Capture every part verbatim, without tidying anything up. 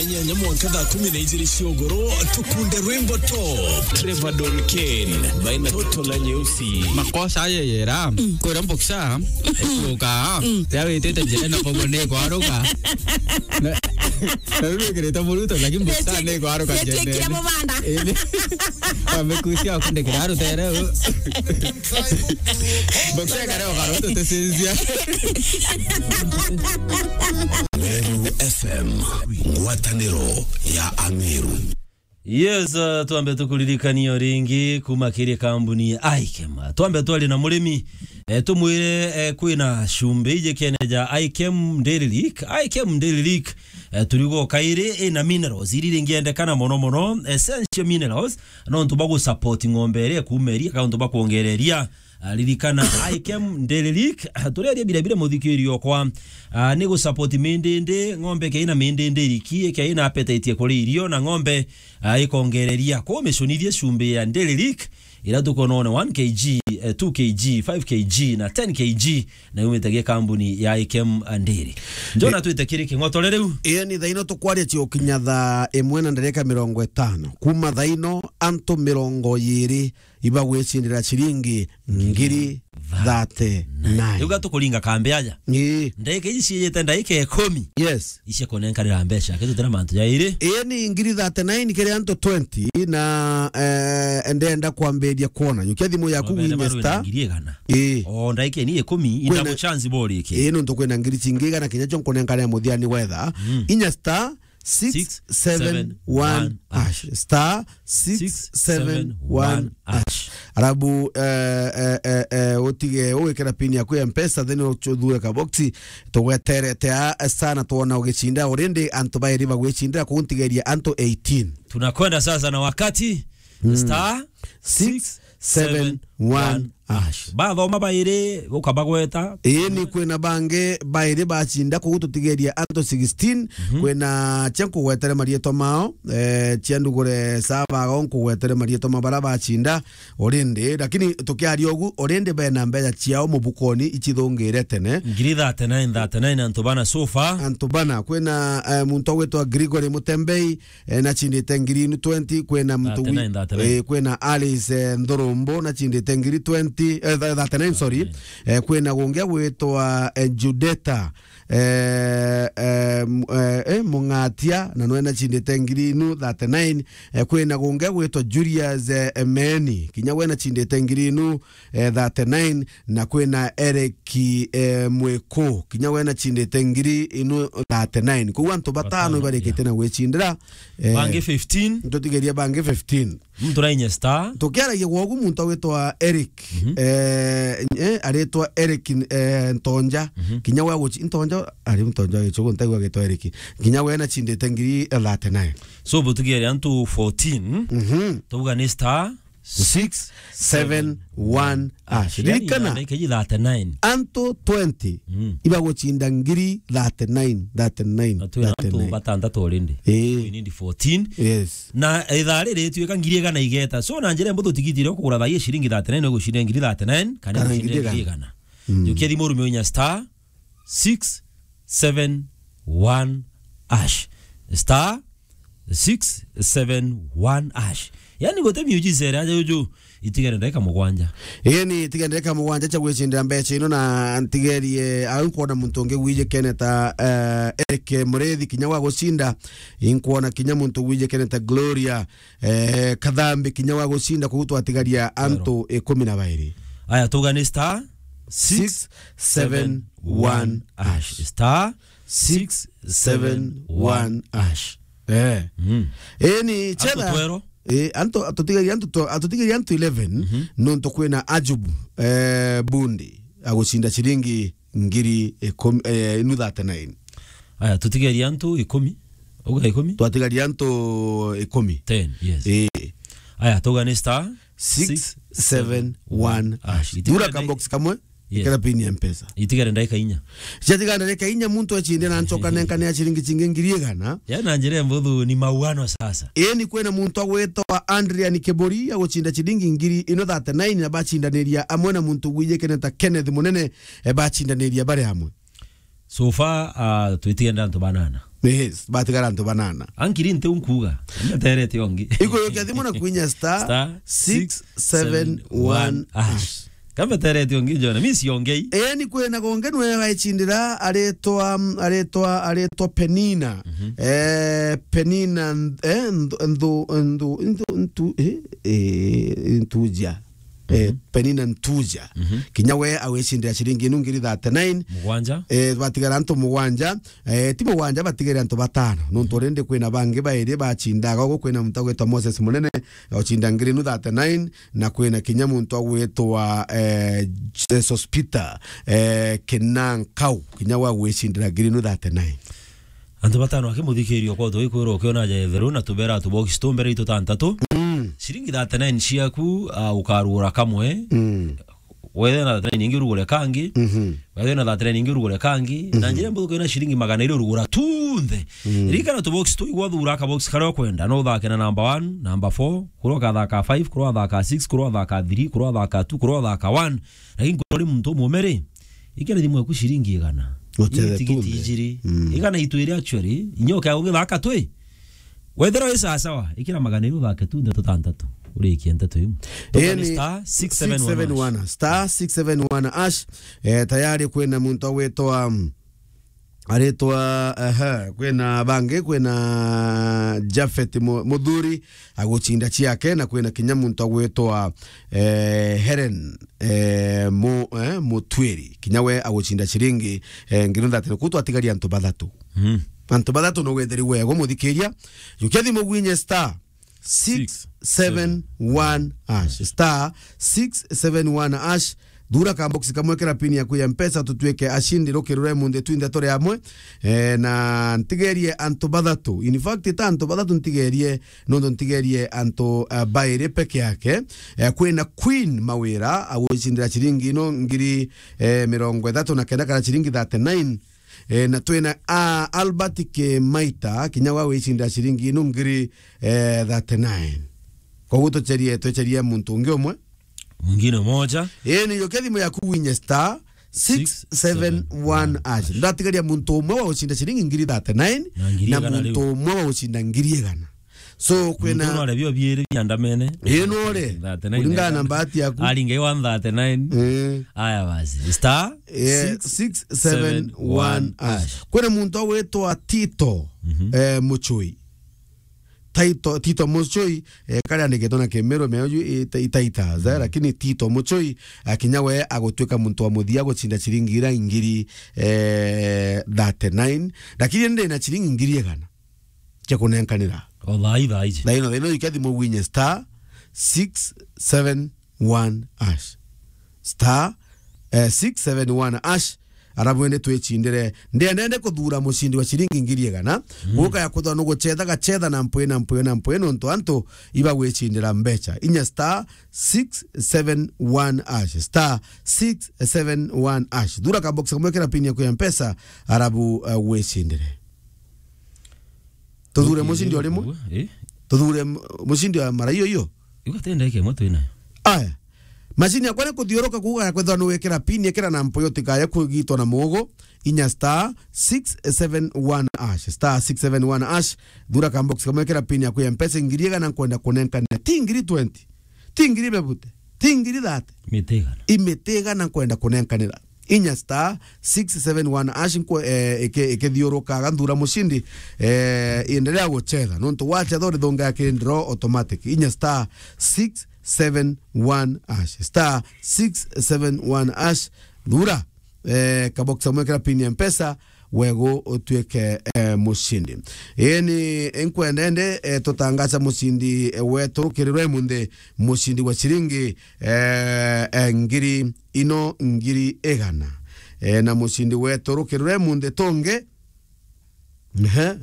Inyanya mwanka thaa kumi na ijiri cia ugoro, tukunde rwimbo top. Trevor Don Kane, baina toto la nyeusi. Makosa aye yera, kwira mboksa, kuka, ya witete njira na pogo ne kwaruka. Na, na ruru kirita muruto, lakini mboksa ne kwaruka. Yetekia jene. Mubanda. Ebe, amekusia kunde kiraru tere. Mboksa kare okaroto tesinzia. Meru F M, ngwataniro ya Ameru. Yes, uh, twambe tukuririkania ringi kuma kiri kambuni ya Ikem. Twambe twari na murimi, eh, tumwire, eh, kwina cumbi iji kene ja Ikem Dairy Leak. Ikem Dairy Leak, eh, turigo kairi ina minerals iri ringiendekana mono mono, essential minerals, nontu bwa gusupport ng'ombe iria ikuuma iria, ka untu bwa kwongereria. Ah, ririkana, Ikem Dairy Leak, ah, tureria bira bira muthikiri okwa. Ah, ni gusupport mindindi, ng'ombe kei na mindindi iriki, kei na appetite ya kuria irio, na ng'ombe, ah, ikongereria. Kwa umicunithie cumbi ya Dairy Leak, ira tukonone one K G, eh, two K G, five K G, na ten K G, na yumite gi kambuni ya Ikem Dairy. Njona twite kiri king'otore riu. Ii ni thaino tukwaria cio kinya thaa imwe na ndarika mirongo itano. Kuma thaino antu mirongo iri ibagwicindira ciringi ngiri thirty-nine. Riu gatukuringa kambi aja. Ii. Ndagika iji ciijite ndagika ikumi. Yes. Ici kunenkanira mbeca, kitu tira mantu jairi. Ii ni ngiri thirty-nine kiri antu twenty na, eh, ndenda kwambiria kwona. Yukia thimu yaku winye star. Ngiri igana. Ii. O ndagika ni ikumi, kwina indago chance bori iki. Ii, nontu kwina ngiri cingi igana kinya cio nkunenkanira muthiani wetha. Mm. Inya star six seven one hash. Star six seven one hash. Arabu, eh, eh, eh, eh, utige ugikira pin yaku ya Mpesa, then uthure ka box, tugweterete a sana twona ugicinda. Already antu bairi bagwicindira, kuu ntigeria antu eighteen. Tunakwenda sasa na wakati. Mm. Star six seven one hash. Bathoma bairi, ukabagweta. Ii, ni kwina bangi bairi bacinda, kuu tutigeria antu sixteen. Mhm. Kwina cia nkugwetere marietwa mao, eh, cia ndugure sabago nkugwetere marietwa ma bara bacinda already, lakini tukiaria ugu, already bena mbeca ciao mubukoni icithungire tene. Ngiri thirty-nine, thirty-nine antu bana so far. Antu bana, kwina, eh, muntu ugwitwa Gregory Mutembei, eh, nachindite ngiri inu twenty, kwina muntu wi-, thirty-nine, thirty-nine. Eh, kwina Alice, eh, Nthurumbu, nachindite ngiri twenty, eh, th-, thirty-nine, sorry. Thirty-nine. Eh, kwina gungi agwitwa, eh, Judeta, eh, eh, m-, eh, eh, Mung'atia, na nwe nachindite ngiri inu thirty-nine. Eh, kwina gungi agwitwa Julius, eh, Emeni, kinya we nachindite ngiri inu, eh, thirty-nine, na kwina Eric, eh, Mwiku, kinya we nachindite ngiri inu thirty-nine. Koguo antu batano, batano, ibarikite, yeah, na gwicindira, eh, bangi fifteen. Tutigeria bangi fifteen. Muntu rainya star. Tukiaragia gwogu muntu agwitwa Eric, mhm, eh, eh, aritwa Eric, eh, Ntonja. Mhm. Kinya we aguci-, Ntonja, ari Ntonja gicugu, ntaigua agitwa Eric. Kinya we nachindite ngiri thirty-nine. So, butigeria antu fourteen. Mhm. Tuga ni star six seven one hash. Yani, ririkana, na ndagika iji thirty-nine. Antu twenty, mm, ibagucinda ngiri thirty-nine, thirty-nine, na twina antu thirty-nine. Batantatu already. Ii. We need fourteen. Yes. Na ithaa riri rituika ngiri igana igeta. So, na njira mbuthu tigiti iria ukugura thaa ii ciringi thirty-nine, ugucinda ngiri thirty-nine, kana, kana ugucinda ngiri igana. Ngiri igana. Mm. Jukia thimu urume inya star six seven one hash. Star six seven one hash. Yani, guti miujiza iria aja juju, itigere ndagika mugwanja. Ii, ni itigere ndagika mugwanja cia gwicindira mbeca ino, na ntigerie au nkwona muntu ungi wijikene ta, eh, Eric Murithi, kinya wa gucinda, inkwona kinya muntu wijikene ta Gloria, eh, Kathambi, kinya wa gucinda, koguo twatigaria antu ikumi na bairi. Aya, tuga ni star six seven one hash. Star six seven one hash. Eh. Mm. Ii, ni antu chetha twero. Ii, antu, atutigeria antu tw-, atutigeria antu eleven, mhm, nontu kwina Ajub, eh, Bundi, agucinda ciringi ngiri ikumi, eh, inu thirty-nine. Aya, tutigeria antu ikumi. Uga ikumi? Twatigaria antu ikumi. Ten, yes. Ii. Aya, tuga ni star six seven one hash. Thura ka box kamwe, yes, ikira pin ya Mpesa. Itigare ndagika inya. Ciatigara ndagika inya, muntu ecinde na ncoka nenkane ya ciringi cingi ngiri igana. Ya na njira mbuthu ni mauano sasa. Ii, ni kwina muntu agwitwa Adrian Kiburi agucinda ciringi ngiri ino thirty-nine, na bacindaniria amwe na muntu wijikene ta Kenneth Munene, e, bacindaniria bari amwe. So far, ah, twitigenda antu banana. Yes, batigara antu banana. Ankiri nti unkuga. Mbeterete ongi. Ikurukia thimu na kwinya star Star six seven one hash. Kambeterete ongi, Jona. Mi siongei. Eni, kwina gonge nwe waicindira, aritwa, aritwa, aritwa Penina. Mhm. Eh, Penina, eh, nthu, nthu, nthu, nthu, ntu, eh, eh, Ntuja. Eh, Mhm. Penina Ntuja. Mhm. Kinya we awicindira ciringi inu ngiri thirty-nine. Mugwanja. Eh, batigara antu mugwanja. Eh, ti mugwanja, batigere antu batano. Nontu rindi kwina bangi bairi bacindaga, ugu kwina muntu agwitwa Moses Munene, ucinda ngiri inu thirty-nine, na kwina kinya muntu agwitwa, eh, Jesus Peter, eh, Kinankau, kinya wa gwicindira ngiri inu thirty-nine. Antu batano akimuthikiria kwa utoi kwirwo ukiona ja etheru na tubera tubox tumbere itu tantatu. Mm. Ciringi thirty-nine ciaku, ah, ukarugura kamwe. Mm. Wethe na thirty-nine ingi urugure kangi. Mhm. Wethe na thirty-nine ingi urugure kangi. Na Mhm. njira mbuthuku ina ciringi magana iri urugura tunthe. Mm. Ririkana tubox tu igwa thura kabox karia ukwenda. No uthake na number one, number four, kuria ukathaka five, kuria uthaka six, kuria uthaka three, kuria uthaka two, kuria uthaka one. Lakini kuria uri muntu umumere, ikira thimu yaku ciringi igana. Ucheze Ii tigiti tunthe. Ijiri. Mm. Igana itwiri actually, inyoka ugithaka twi. Wethira wi sawasawa, ikira magana iri uthake tu ndeto tantatu. Urikie ndeto iu. Ii ni star six seven one hash. Star six seven one hash. Eh, tayari kwina muntu agwitwa, um, aritwa, aha, kwina bangi, kwina Japhet Mu-, Muthuri agucinda ciake, na kwina kinya muntu agwitwa, eh, Helen, eh, Mu-, eh, Mutwiri. Kinya we agucinda ciringi, eh, ngiri thirty. Kuu twatigaria antu bathatu. Mm. Antu bathatu no wetheri wego, muthikiria. Jukia thimu gwinye star six seven one hash. Star six seven one hash. Thura ka box kamwe, kira pin yaku ya Mpesa, tutwike ashindi rukirure munthi twinthe turi amwe. Eh, na ntigerie antu bathatu. In fact, ta antu bathatu ntigerie, nontu ntigerie antu, eh, bairi peke yake. Eh, kwina Queen Mawira, agwicindira ciringi ino ngiri, eh, mirongo ithatu na kenda kana ciringi thirty-nine. Eh, na twina, ah, Albert Kimaita, kinya wa wicinda ciringi inu ngiri, eh, thirty-nine. Koguo tucherie, twecherie muntu ungi umwe. Mwingine moja. Eh, ni yoke thimu yaku winye star six seven one hash. Ndatigaria muntu umwe wa gucinda ciringi ngiri thirty-nine, na ngiri na igana muntu umwe wa gucinda ngiri igana. So, kwina muntu no arebio biiri biandamene. Ii, no ore. Thirty-nine. Kulingana na bahati yaku. Ari ngai wa thirty-nine. Eh. Aya basi. Star, eh, six seven one hash. Kwina muntu agwitwa Tito, mhm, eh, Muchui. Tito, Tito Muchui, eh, kari andikitwe na Kimiru, meoju ita-, itaita, za, mhm, lakini Tito Muchui, akinya we agutwika muntu wa muthia gucinda ciringi ira ngiri, eh, thirty-nine. Lakini ndi na ciringi ngiri igana cia kunenkanira. O thaa ii, thaa iji. Thaa ino, thaa ino, ikia thimu winye star six seven one hash. Star, eh, six seven one hash. Arabu ende twicindire. Ndienda ende kuthura mucindi wa ciringi ngiri igana. Mm. Guka ya kuthwa nugucetha gacetha na mpwi na mpwi na mpwi nontu antu ibagwicindira mbecha. Inya star six seven one hash. Star six seven one hash. Thura ka box kamwe kira pin yaku ya Mpesa, arabu, eh, wicindire. Tuthure mucindi o rimwe? Eh? Tuthure mu-, mucindi wa mara iyo iyo? Igo tenda ike imwe twinayo. Aya. Macini yakwa ni kuthiuruka kuuga ya kwethirwa ni wikira pin, ikira na mpoyo utikaye kugitwa na mugo, inya star six seven one hash, star six seven one hash, thura ka box kamwe, ikira pin yaku ya Mpesa, ngiri igana nkwenda kunenkanira. Ti ngiri twenty, ti ngiri bebute, ti ngiri thirty. Miti igana. I miti igana nkwenda kunenkanira. Inya star six seven one hash nkwe, eh, ike-, ikithiurukaga nthura mucindi, eh, endelea guchetha. Nontu wachetha urithunga ya kiri draw automatic. Inya star six seven one hash. Star six seven one hash. Thura, eh, kabox kamwe kira pin ya Mpesa, wego utuike, eh, mucindi. Ii ni nkwenda ende, eh, tutangaza mucindi, eh, wetu rukirirwe munthi, mucindi wa ciringi, eh, eh, ngiri ino ngiri igana. Eh, na mucindi wetu rukirure munthi tungi. Ehe.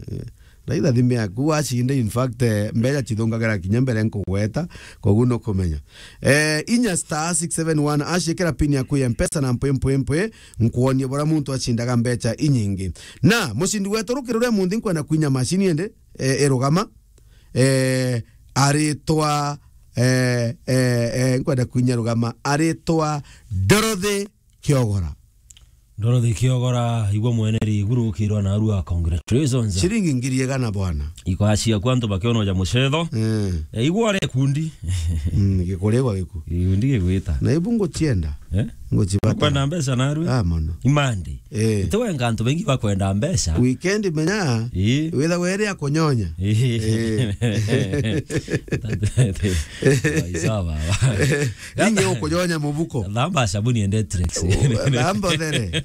Raitha thimu yaku wacinda, in fact, eh, mbeca cithungagira kinya mbere nkugweta, koguo nukumenya. Eh, inya star six seven one hash, ikira pin yaku ya Mpesa na mpwi, mpwi, mpwi, nkuonie bora muntu acindaga mbeca inyingi. Na mucindi wetu rukirure munthi nkwenda kwinya macini ende, eh, irugama. Eh, aritwa, eh, eh, eh, nkwenda kwinya rugama, aritwa Dorothy Kiogora. Dorothy Kiogora, igua mwene riguru ukirwa na arua, congratulations. Ciringi ngiri igana bwana. Iko acia kwa antu bakiona ja mucetho. Eh. Eh, igua re kundi. Mm, gikurigwa giku. Gikundi gigwita. Na ibu ngucienda. Eh? Ngucibata. Kwenda mbeca na arua? Ah, mono. Imandi. Eh. Ite wenga antu baingi bakwenda mbeca. Weekend menya. Ii. Witha were akunyonya. Ii. Eh. Ii, sawa baba. Ingi ukunyonya mubuko. Thamba sabuni and Dettrex. Thamba uthere.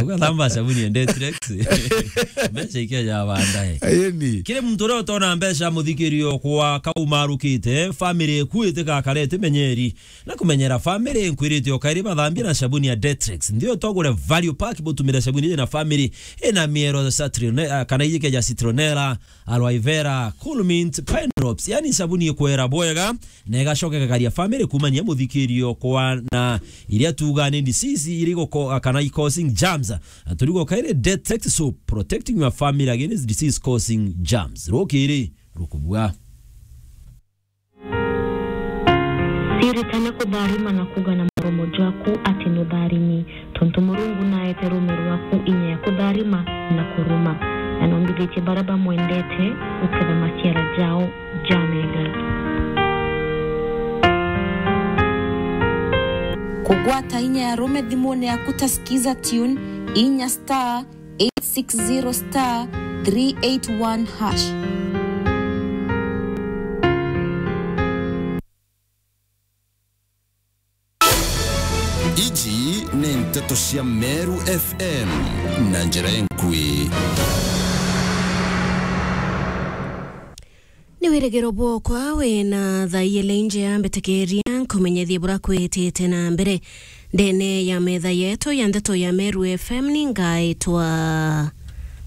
Uga thamba sabuni and Dettrex. Mbeca ikeja baadaye. Ayeni. Kiri muntu uria utona mbeca, muthikirio kwa kaumarukite, family ikuite gakare timenyeri. Na kumenyera family, nkwirite o kairi bathambie na sabuni ya Dettrex. Nthio togure value pack, butumire sabuni iji na family ina miero ya citrone-, ah, kana iji keja citronella, aloe vera, cool mint, pine drops. Yani sabuni ikwera bwega, na igacoka igakaria family kumania muthikirio kwa na iria tuga ni disease iria igoko-, ah, kana i causing germs. Ah, turigo kairi Dettrex soap, protecting your family against disease causing germs. Rukiri, rukubua. Ciritane kutharima na kuuga na muromo jwaku ati nutharimi, tontu Murungu naete ruume rwaku inya ya kutharima na kuruma. Na nombithitie baria bamwendete guketha maciara jao jamega. Kugwata inya ya ruume thimune yaku ta Skiza Tune, inya star eight six zero star three eight one hash. Iji ni nteto cia Meru F M na njira enkui. Ni wirigiro bwokwa wina thaa iele injea, mbitikiria nkumenyethie buria kwitite na mbere ndene ya metha yetu ya ndeto ya Meru F M. Ni ngaitwa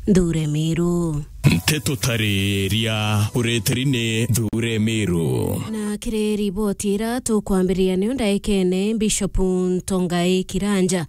Nthure Miru. Nteto tariria ureteri ni Nthure Miru. Na kiri riboti ira tukwambiriria niu ndaikene, Bishop Ntongai Kiranja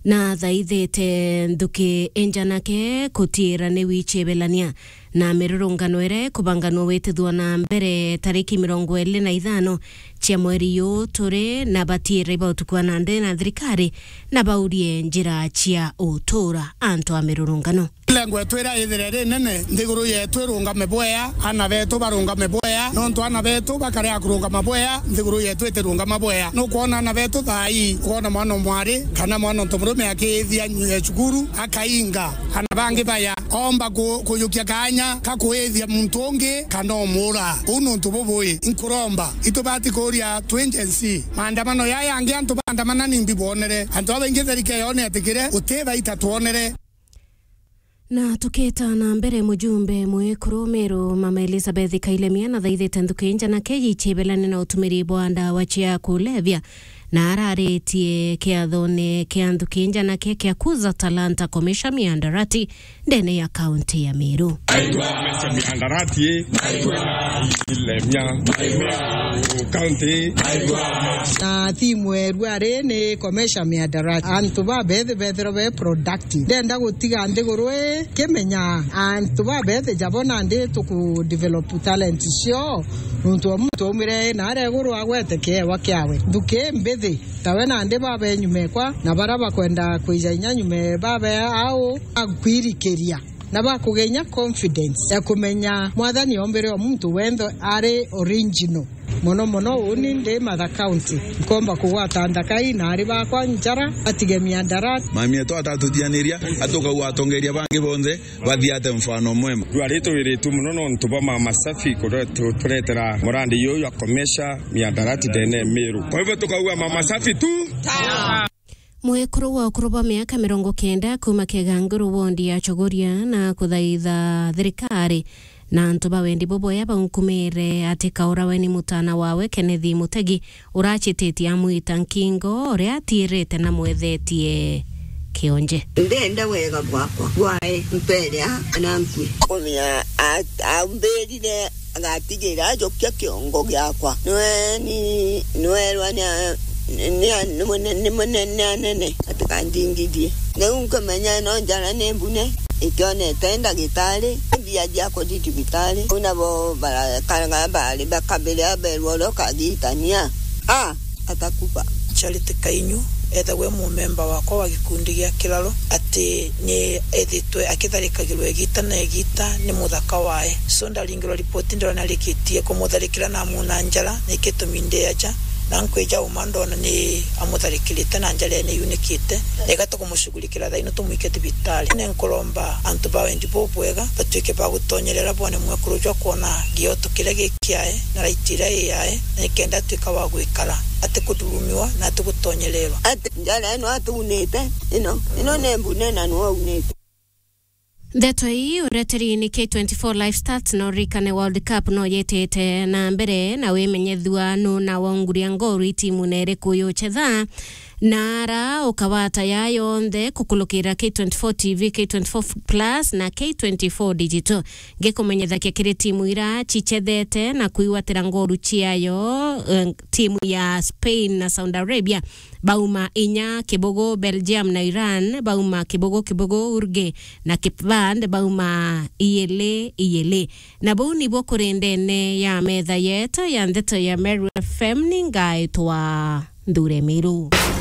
na thaithite nthuki injanake kutiira ni wichibelania na mirurungano iria ikubanganua witithua na mbere tariki mirongo iri na ithano cia mweri yu turi na batiira iba utuku wa nandi na thirikari na baurie njira cia utuura antu a mirurungano. Lengo yetu iria ithire ri nene, nthiguru yetu irungame bwea, ana betu barungame bwea, nontu ana betu bakarea kurungama bwea, nthiguru yetu itirungama bwea. Nukwona ana betu thaa ii, ukoona mwana o mwari kana mwana o ntomurume akiithia nyu-, cukuru, akainga, ana bangi baya, omba ku-, kujukia kaanya ka kuithia muntu ungi kana umura. Uu ni untu bubui. Nkuromba, itubati kuuria twi Gen Z, maandamano jaya yangi antu baandamana nimbi bwonere? Antu babaingi tharike yone atikire, uti baita twonere. Na tukita na mbere, mujumbe mwikuru Meru, Mama Elizabeth Kailemia, na thaithite nthuki injanake yichibelane na utumiri bwa ndawa cia kulevya, na araritie kiathone kia nthuki injanake kia Kuza Talanta Commercial Mihadarati ndene ya kaunti ya Meru. Aigua Commercial Mihadarati, aigua Kailemia, Meru County. Na thimu erua ri ni Commercial Mihadarati. Antu babethi bethirwe be productive. Ndenda gutiga nthiguru ii kimenya antu babethi jabo nandi tuku develop talent cio. Nuntu o muntu aumire na aria iguru agwete kiewa kiawe. Nthuki mbithi, tawe nandi babe nyuma ekwa, na baria bakwenda kwija inya nyuma babe au, akwirikiria na bakugenya confidence ya kumenya Mwathani ombire o muntu wenthe ari original. Mono mono uni ndi Matha County, nkomba kugwata nthakai na ari bakwa njara, atige miandara. Mami etu atatutianiria, atukagua atongeria bangi bonthe bathiate mfano mwema. Rwari tuwiritwe mono nontu bwa Mama Safi kuretu-, turetera murandi yuyu ya Commercial Mihadarati ndene Meru. Kwa hivyo tukauga Mama Safi tu. Mwekuru wa ukuru bwa miaka mirongo kenda kuuma Kiganguru wondi ya Chogoria na kuthaitha thirikari na antu ba wendi bubwea baunkumire ati kaurawe ni mutana wawe Kenneth Mutegi urachititie amwita nkingo uria atiirite na mwethetie kionje. Ndenda wega bwakwa bwae mpere a na nkui. Kumia a-, aumbirire agatigira ajukia kiongo giakwa. Nwe ni, nwerwa ni a-, ni a-, ni mune-, ni munene anene, atikandingithie. Riu nkumenya no njara ni mbune, ikionete ndagitari, mbia ciakwa ci cibitari. Riu nabo barakaraga bari bakabire aberwa uria ukagitania. A, atakufa. Charity Kainyu, ethagwe mumemba wakwa wa gikundi gia Kiraro, ati ni ethitwe akitharikagirwa igita na igita ni muthaka wae. So ndaringirwa ripoti, ndona rikitie kumutharikira na amuna njara, na ikitumi ndi aja, na nkwija uma ndona ni amutharikirite na njara ene yunikite, na igata kumushughulikira thaino tumwike thibitari. Ni nkuromba antu ba wendi bubwega batwike ba gutonyerera bone mwekuru jwa kwona gioto kiria gikiae na raiti iria iyae, na nikenda atwika wa gwikara atikuthurumiwa na atigutonyererwa. Ati njara ino atuunite, ino, ino ni mbune na niwe aunite. Ndeto ii ureteri ni K twenty-four Live Stats, no ririkane World Cup no yetete na mbere, na wimenyethua nu na waunguria ngoru itimu na iriku yuchetha. Na ara ukawata ya yonthe kukulukira K twenty-four T V, K twenty-four Plus na K twenty-four Digital. Ngikumenyethakia kiri timu ira cichethete na kwigwatira ngoru ciayo, eh, timu ya Spain na Saudi Arabia bauma inya kibugu, Belgium na Iran bauma kibugu kibugu, Uruguay na Cape Verde bauma iyili iyili. Na buu nibuo kuri ndene ya metha yetu ya ndeto ya Meru F M, ni ngaitwa Nthure Miru.